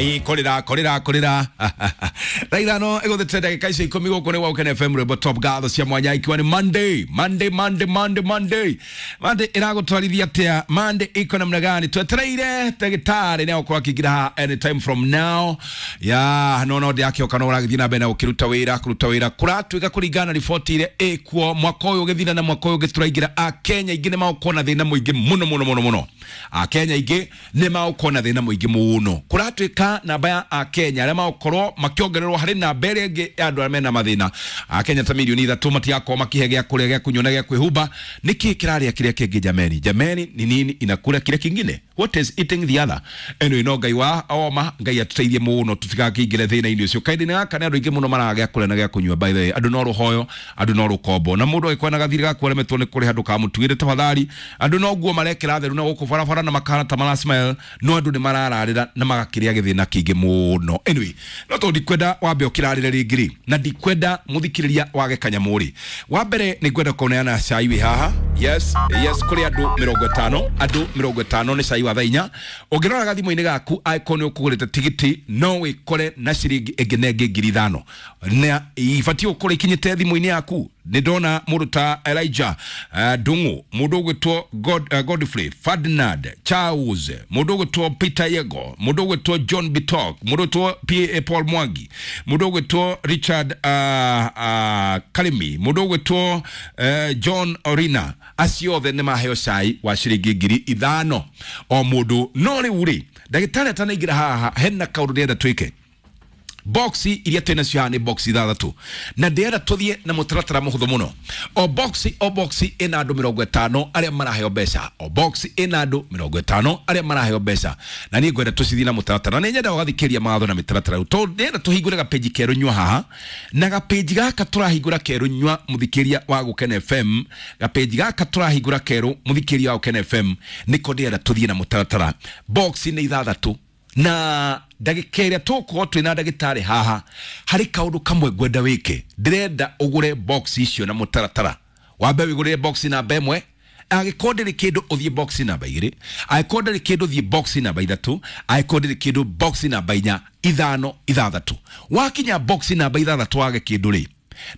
Ai kũrĩra kũrĩra kũrĩra. Thaa 5 ĩgũthĩte ndagĩka icio 10. Gũkũ nĩ Woken FM, rwĩmbo top. Ngatho cia mwanya ikiwa nĩ Monday, Monday, Monday, Monday, Monday, Monday. Ĩragũtwarithia atĩa? Monday iko namna gani? Twetereire ndagĩtarĩ nĩ agũkorwo akĩingĩra haha anytime from now. Ya no ndĩrakĩoka, no ũragĩthiĩ na mbere na gũkĩruta wĩra, kũruta wĩra kũratuĩka kũringana na riboti ĩrĩa ĩkuo. Mwaka ũyũ ũgĩthira na mwaka ũyũ ũngĩ tũraingĩra, Akenya aingĩ nĩ magũkorwo na thĩna mũingĩ mũno mũno mũno mũno. Akenya aingĩ nĩ magũkorwo na thĩna mũingĩ mũno. Kũratuĩka namba ya Akenya arĩa magũkorwo makĩongererwo harĩ namba ĩrĩa ĩngĩ ya andũ arĩa mena mathĩna, Akenya ta milioni 3 matigakorwo makihe gĩa kũrĩa, gĩa kũnyua na gĩa kwĩhumba. Nĩkĩ kĩrarĩa kĩrĩa kĩngĩ? Jameni, jameni, ni nini inakula kile kingine? What is eating the other? Anyway, no Ngai wa oma, Ngai atuteithie mũno tũtigakĩingĩre thĩna-inĩ ũcio. Kaĩndĩ-inĩ gaka nĩ andũ aingĩ mũno maragĩa kũrĩa na gĩa kũnyua. By the way, andũ no rũhoyo, andũ no rũkombo, na mũndũ agĩkorwo na gathirĩ gaku aremetwo nĩ kũrĩha, ndũkamũtuĩre tafadhali. Andũ no nguo marekĩra theru na gũkũ barabara na makahana ta mara smile, no andũ nĩ marararĩra na magakĩrĩa gĩthĩna kĩingĩ mũno. Anyway, no tondũ ndikwenda wambe ũkĩrarĩre rĩngĩ rĩ, na ndikwenda mũthikĩrĩria wage kanyamũ rĩ, wa mbere nĩ ngwenda kũneana cai wĩ haha. Yes, kũrĩ andũ 50, andũ 50 nĩ cai wa thaa 4. Ũngĩrora gathimũ-inĩ gaku, angĩkorwo nĩ ũkũgũrĩte tigiti, no wĩkore na ciringi ĩngĩ na ĩngĩ 5,000 na ibatiĩ gũkorwo ikinyĩte thimũ-inĩ yaku. Nĩ ndona mũndũ ta Elijah Ndung'u, mũndũ ũgwĩtwo Godfrey Ferdinand Charles, mũndũ ũgwĩtwo Peter Yego, mũndũ ũgwĩtwo John Bitok, mũndũ ũgwĩtwo Pa Paul Mwangi, mũndũ ũgwĩtwo Richard Karimi, mũndũ ũgwĩtwo John Orina. Acio othe nĩ maheo cai wa ciringi 5,000 o mũndũ. No rĩu rĩ, ndagĩtarĩ atanaingĩra haha, hena kaũndũ ndĩrenda twĩke. Box iria twĩ nacio haha nĩ box ithathatũ, na ndĩrenda tũthiĩ na mũtaratara mũhũthũ mũno. O box, o box ĩna andũ 50 arĩa maraheo mbeca. O box ĩna andũ 50 arĩa maraheo mbeca, na niĩ ngwenda tũcithiĩ na mũtaratara, na nĩ nyenda ũgathikĩrĩria mawatho na mĩtaratara rĩu, tondũ ndĩrenda tũhingũre gapĩnji kerũ nyua haha. Na gapĩnji gaka tũrahingũra kerũ nyua, mũthikĩria wa Gũkena FM, gapĩnji gaka tũrahingũra kerũ, mũthikĩria wa Gũkena FM, nĩko ndĩrenda tũthiĩ na mũtaratara. Box nĩ ithathatũ, na ndagĩka ĩrĩa tũgũkorwo twĩna ndagĩtarĩ haha, harĩ kaũndũ kamwe ngwenda wĩke. Ndĩrenda ũgũre box icio na mũtaratara. Wambe wĩgũrĩre box namba 1, angĩkorwo ndĩrĩ kĩndũ ũthiĩ box namba 2, angĩkorwo ndĩrĩ kĩndũ ũthiĩ box namba 3, angĩkorwo ndĩrĩ kĩndũ box namba 4, 5, 6. Wakinya box namba 6 wage kĩndũ rĩ,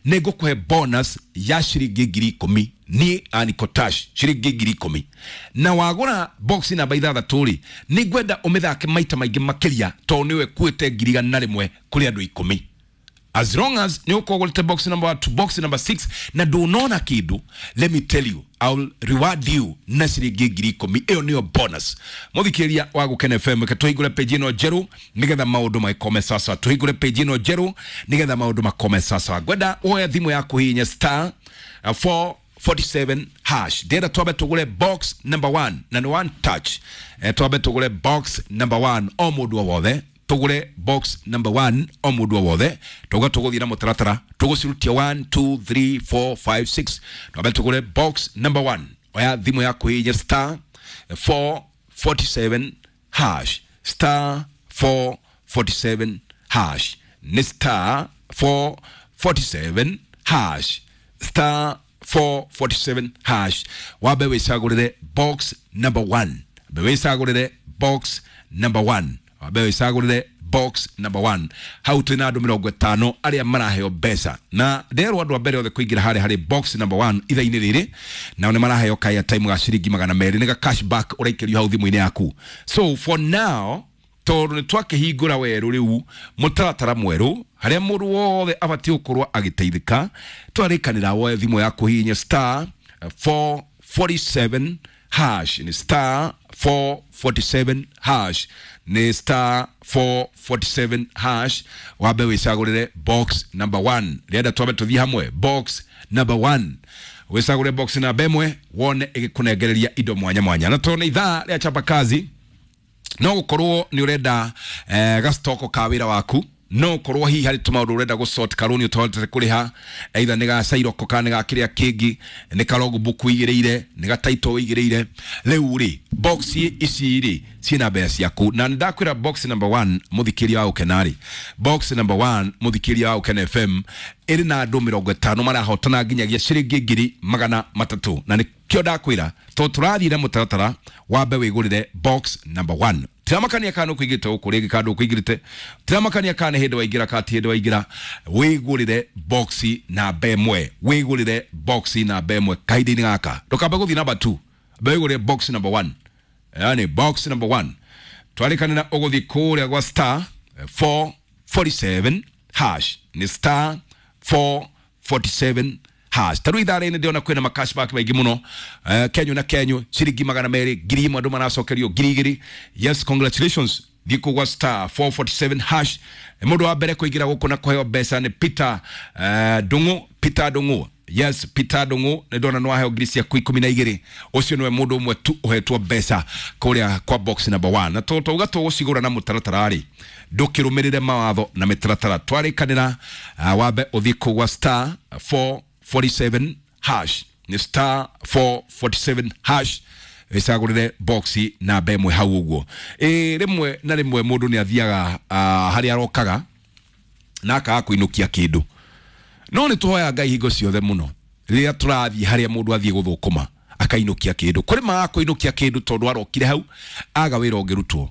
nĩ ngũkũhe bonus ya ciringi 10,000 niĩ Aniko Tash, ciringi 10,000. Na wagũra box namba 6 rĩ, nĩ ngwenda ũmĩthake maita maingĩ makĩria, tondũ nĩwe kuĩte 101,000 kũrĩ andũ 10. As long as nĩ ũkorwo ũgũrĩte box number 1 to box number 6 na ndũnona kĩndũ, let me tell you, I will reward you na ciringi 10,000. Ĩyo nĩyo bonus. Mũthikĩrĩria wa Gũkena FM, reke tũhingũre page ĩno njerũ nĩgetha maũndũ magĩkome sasa. Tũhingũre page ĩno njerũ nĩgetha maũndũ makome sasa. Ngwenda woe thimũ yaku, hihinya star 447 hash. Ndĩrenda twambe tũgũre box number 1, na nĩ one touch. Twambe tũgũre box number 1, o mũndũ o wothe tũgũre box number 1, o mũndũ o wothe. Tauga tũgũthiĩ na mũtaratara, tũgũcirutia 1, 2, 3, 4, 5, 6. Twambe tũgũre box number 1. Oya thimũ yaku, hihinya star 447 hash, star 447 hash, nĩ star 447 hash, star 447 hash. Wambe wĩcagũrĩre box number 1, wambe wĩcagũrĩre box number 1, wambe wĩcagũrĩre box number 1. Hau twĩna andũ 50 arĩa maraheo mbeca, na nderwo andũ a mbere othe kũingĩra harĩa harĩ box number 1 ithaa-inĩ rĩrĩ nao nĩ maraheo ka time ga ciringi 200. Nĩ ga cashback ũraikĩrio hau thimũ-inĩ yaku. So for now, tondũ nĩ twakĩhingũra werũ rĩu mũtaratara mwerũ harĩa mũndũ wothe abatiĩ gũkorwo agĩteithĩka, twarĩkanĩra woe thimũ yaku, hihinya star 447 hash, nĩ star 447 hash, nĩ star 447 hash. Wambe wĩcagũrĩre box number 1. Rĩenda twambe tũthiĩ hamwe box number 1. Wĩcagũre box namba 1 wone ĩgĩkũnengereria indo mwanya mwanya. Na tondũ nĩ ithaa rĩa chapa kazi, no gũkorwo nĩ ũrenda gastoko ka wĩra waku, no ũkorwo hihi harĩ tũmaũndũ ũrenda gũsort, karũni ũtahotete kũrĩha, either nĩ ga cairoko kana nĩ ga kĩrĩa kĩngĩ, nĩ ka logbook ũigĩrĩire, nĩ ga title ũigĩrĩire. Rĩu rĩ, box ici rĩ ciĩna mbeca ciaku, na nĩ ndakwĩra box number 1, mũthikĩria wa Ũkena rĩ, box number 1, mũthikĩria wa Ũkena FM, ĩrĩ na andũ 50 marahotana nginyagia ciringi 300,000. Na nĩkĩo ndakwĩra, tondũ tũrathiĩ na mũtaratara, wambe wĩgũrĩre box number 1. Tiramakania kana kuigite uku ringi kana kuigirite. Tiramakania kana hindi waingira kati hindi waingira wigurire box namba 1. Wigurire box namba 1 kahinda-inĩ gaka. Ndũkambe gũthiĩ namba 2. Wigurire box number 1. Yani box number 1. Twarikanira ũgũthiĩ kũrĩa gwa star 447 hash. Ni star 447 hash. Taru ithaa-inĩ ndĩrona kwĩna ma cashback maingĩ mũno. Kenyu na Kenyu ciringi 200 1,000 andũ maracokerio 2,000. Yes, congratulations. Thiĩ kũu gwa star 447 hash. Mũndũ wa mbere kũingĩra gũkũ na kũheo mbeca nĩ Peter Ndung'u. Peter Ndung'u. Yes, Peter Ndung'u nĩ ndona nĩ waheo ngiri ciaku 12. Ũcio nĩwe mũndũ ũmwe tu ũhetwo mbeca kũrĩa kwa box number 1. Na tauga tũgũcigũra na mũtaratara rĩ, ndũkĩrũmĩrĩre mawatho na mĩtaratara. Twarĩkanĩra wambe ũthiĩ kũu gwa star 447 hash. Ni star 447 hash. Icagũrĩre boxi namba 1 hau ũguo. Rĩmwe na rĩmwe mũndũ nĩ athiaga harĩa arokaga na akaga kũinũkia kĩndũ. No nĩ tũhoya Ngai hingo ciothe mũno rĩrĩa tũrathiĩ harĩa mũndũ athiĩ gũthũkũma akainũkia kĩndũ. Kũrĩ magaga kũinũkia kĩndũ tondũ arokire hau aga wĩra ũngĩrutwo.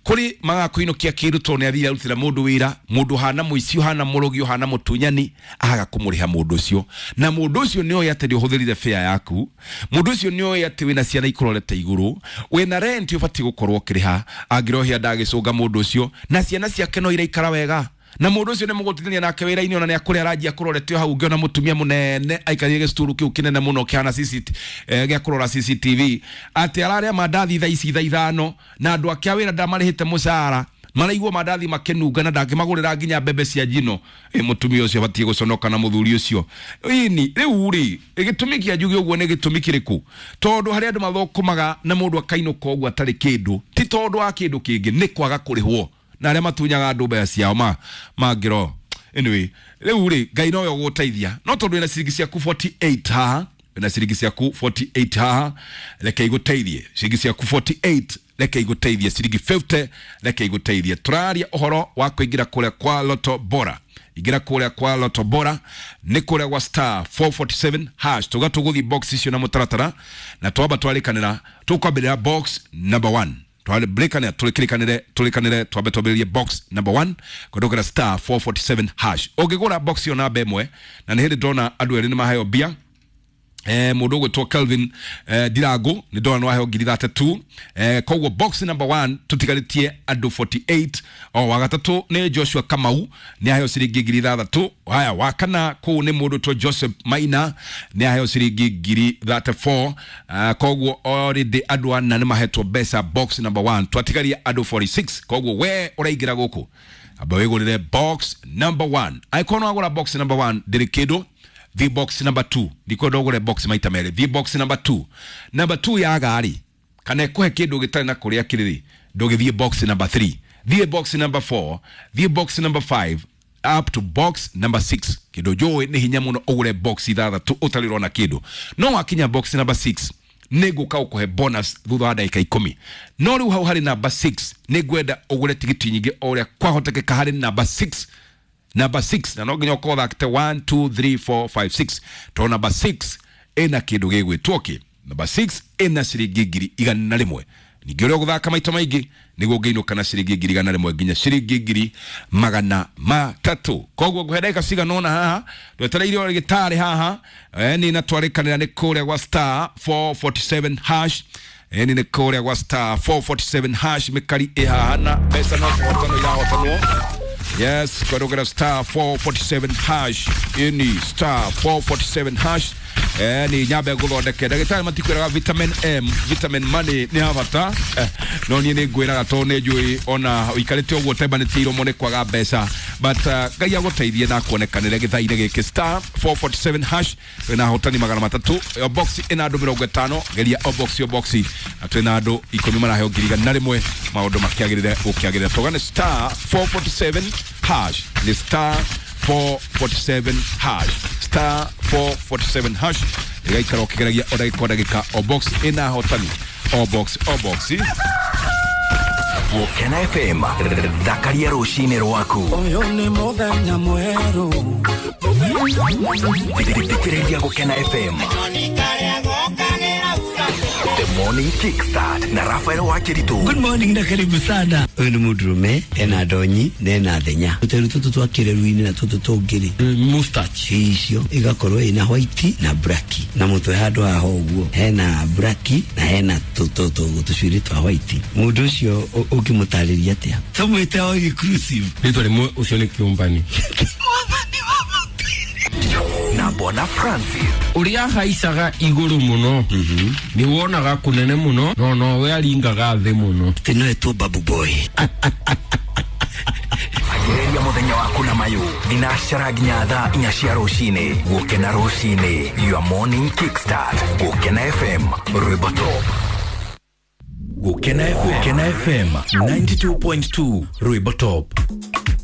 Kũrĩ magaga kũinũkia kĩndũ tondũ nĩ athire arutĩra mũndũ wĩra, mũndũ hana mũici, ũhana mũrogi, ũhana mũtunyani, aga kũmũrĩha mũndũ ũcio. Na mũndũ ũcio nĩ oĩ atĩ nĩ ũhũthĩrire fare yaku, mũndũ ũcio nĩ oĩ atĩ wĩna ciana ikũrorete igũrũ, wĩna rent ũbatiĩ gũkorwo ũkĩrĩha, angĩrohia ndagĩcũnga mũndũ ũcio, na ciana ciake no iraikara wega. Na mũndũ ũcio nĩ mũgũtithania nake wĩra-inĩ ona nĩ akũrĩa aranjia kũrorete hau ũngĩona mũtumia mũnene aikarĩire gĩcuturu kĩu kĩnene mũno kĩhana gĩa kũrora CCTV atĩ ararĩa mandathi thaa ici thaa 5 na andũ ake a wĩra ndamarĩhĩte mũcara maraigua mandathi makĩnunga na ndangĩmagũrĩra nginya mbembe cia njino. Mũtumia ũcio abatiĩ gũconoka na mũthuri ũcio. Ini rĩu rĩ, gĩtũmi kĩa njuge ũguo nĩ gĩtũmi kĩrĩkũ? Tondũ harĩa andũ mathũkũmaga na mũndũ akainũka ũguo atarĩ kĩndũ, ti tondũ wa kĩndũ kĩngĩ, nĩ kwaga kũrĩhwo. Na arĩa matunyaga andũ mbeca ciao mangĩro. Anyway, rĩu rĩ, Ngai nowe ũgũteithia. No tondũ wĩna ciringi ciaku 48 haha, wĩna ciringi ciaku 48 haha, reke igũteithie. Ciringi ciaku 48 reke igũteithie. Ciringi 50 reke igũteithie. Tũraria ũhoro wa kũingĩra kũrĩa kwa Lotto Bora. Ingĩra kũrĩa kwa Lotto Bora nĩ kũrĩa gwa star 447 hash. Tuga tũgũthiĩ box icio na mũtaratara na twamba twarĩkanĩra tũkwambĩrĩra box number 1. Twambĩrĩkanĩra tũrĩkanĩre twambe twambĩrĩrie box number 1 kũndũkĩra star 447 hash. Ũngĩgũra box ĩyo namba 1 na nĩ hĩndĩ ndona andũ erĩ nĩ maheo mbia. Mũndũ ũgwĩtwo Kelvin Ndirangu nĩ ndona nĩ waheo ngiri 32. Koguo box number 1 tũtigarĩtie andũ 48. O wa gatatũ nĩ Joshua Kamau nĩ aheo ciringi ngiri 6. Haya, wa kana kũu nĩ mũndũ ũgwĩtwo Joseph Maina nĩ aheo ciringi ngiri 34. Koguo already andũ ana nĩ mahetwo mbeca box number 1. Twatigaria andũ 46. Koguo we ũraingĩra gũkũ amba wĩgũrĩre box number 1. Angĩkorwo nĩ wagũra box number 1 ndĩrĩ kĩndũ. The box number 2 ndikwenda ũgũre box maita merĩ. The box number 2, number 2 yaga rĩ kana ĩkũhe kĩndũ gĩtarĩ na kũrĩa kĩrĩ rĩ, ndũgĩthiĩ box number 3, thiĩ box number 4, thiĩ box number 5 up to box number 6. Kĩndũ njũĩ nĩ hinya mũno ũgũre box 6 ũtarĩ ũrona kĩndũ. No wakinya box number 6 nĩ ngũka ũkũhe bonus thutha wa ndagĩka 10. No rĩu hau harĩ number 6 nĩ ngwenda ũgũre tigiti nyingĩ o ũrĩa kwahotekeka harĩ number 6. Number 6 na no nginya ũkorwo ũthakĩte 1 2 3 4 5 6 to number 6 ĩna kĩndũ gĩgwĩtwo kĩ. Number 6 ĩna ciringi 101. Ningĩ ũrĩa ũgũthaka maita maingĩ nĩguo ũngĩinũka na ciringi 101 nginya ciringi 300. Koguo ngũhe ndagĩka cigana ũna haha twetereire o gĩtarĩ haha. Nĩ na twarĩkanĩra nĩ kũrĩa gwa star 447 hash. Nĩ nĩ kũrĩa gwa star 447 hash. Mĩkari ĩ haha na mbeca no kũhotanwo irahotanwo. Yes, kwadogera star 447 hash. Ini star 447 hash. Ni nyambe nguthondeke ndagĩtarĩ matikwĩraga vitamin M, vitamin money nĩ ya bata. No niĩ nĩ ngwĩraga tondũ nĩ njũĩ ona ũikarĩte ũguo ũtembanĩtie iromo nĩ kwaga mbeca, but Ngai agũteithie na kuonekanĩre gĩthaa-inĩ gĩkĩ. Star 447 hash twĩna ahotani 300. O box ĩna andũ 50. Geria o box o box na twĩna andũ 10 maraheo 101. Maũndũ makĩagĩrĩre gũkĩagĩrĩra. Tũgane star 447 hash. Nĩ star 447 hash. Star 447 hash. Ĩgaikara ũkĩgeragia o ndagĩka o ndagĩka. O box ĩna ahotani. O box o box. Gũkena FM thakaria rũcinĩ rwaku. Ũyũ nĩ mũthenya mwerũ. Thikĩrĩria Gũkena FM. The Morning Kickstart na Rafael Wakiritu. Good morning na karibu sana. Ũyũ nĩ mũndũrũme ena ndonyi na ena thenya. Tũteru tũtũ twa kĩreru-inĩ na tũtũ tũngĩ-rĩ, mustache icio igakorwo ina white na black na mũtwe handũ haha ũguo hena black na hena tũcuĩrĩ twa white. Mũndũ ũcio ũngĩmũtarĩria atĩa? Tũmwĩte o inclusive. Rĩtwa rĩmwe ũcio nĩ kĩũmbani. Na Bwana Francis. Ũrĩa ahaicaga igũrũ mũno nĩ wonaga kũnene mũno no nowe aringaga thĩ mũno. Atĩ no etwo babu boy. Ambĩrĩria mũthenya waku na mayũ thinacara nginya thaa 4 cia rũcinĩ. Gũkena rũcinĩ, your morning kickstart. Gũkena FM, rwĩmbo top. Gũkena FM, Gũkena FM 92.2 rwĩmbo top.